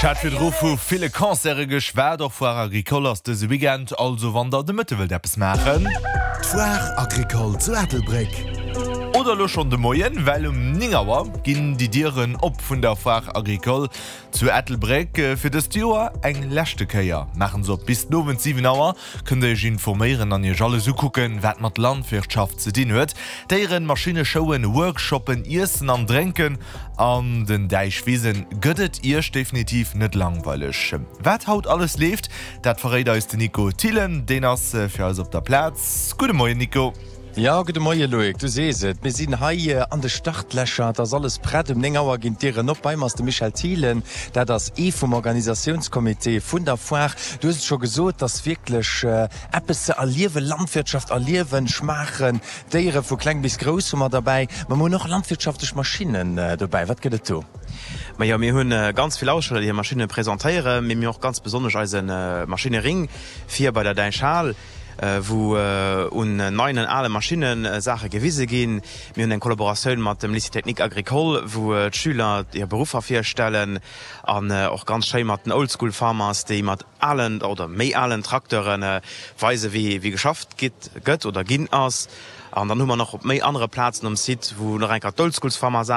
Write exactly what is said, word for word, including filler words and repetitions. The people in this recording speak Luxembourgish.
Ech hat virdru vu ville Concerte geschwat, och Foire Agricole ass dëse Weekend, also wann der de Mëtte wëllt eppes maachen. D'Foire Agricole zu Ettelbréck. Oder elo schonn de Moien, well um néng Auer ginn déi Dieren op vun der Foire Agricole zu Ettelbréck. Fir dëst Joer eng leschte Kéier maachen se op. Bis den Owend siwen Auer kënnt der iech informéieren an iech alles ukucken, wat mat Landwirtschaft ze dinn huet. Déieren, Maschinne, Showen, Workshoppen, Iessen an Drénken an den Däichwisen gëtt et iech definitiv net langweileg. Wat haut alles leeft, dat verréit eis den Nico Thillen, deen ass fir eis op der Plaz. Gudde Moien Nico. Jo, gudde Moie Loïc, du sees et, mir sinn hei an de Startlächer, et ass alles prett, um néng Auer ginn d'Dieren op. Bei mer ass de Michel Thielen, dat ass ee vum Organisatiounscomité vun der Foire. Du hues et scho gesot, et ass wierklech eppes ze erliewen, Landwirtschaft erliewen, schmaachen, Déiere vu kleng bis grouss hu mer derbäi, ma mir hunn och landwirtschaftlech Maschinnen dobäi. Wat gëtt et do? Majo, mir hunn ganz vill Aussteller, déi hir Maschinne presentéieren, mee mir hunn och ganz besonnesch eise Maschinering vir bei der Däichhal, wou un neien an ale Maschinne Saache gewise ginn. Mir hunn eng Kollaboratioun mat dem Lycée Technique Agricole, wou d'Schüler hir Beruffer virstellen an och ganz schéi mat den Old School Farmers, déi mat alen oder méi alen Trakteure weisen, wéi geschafft gëtt oder ginn ass. An dann hu mer nach op méi anere Plazen um Site, wou nach eng Kéier d'Old School Farmers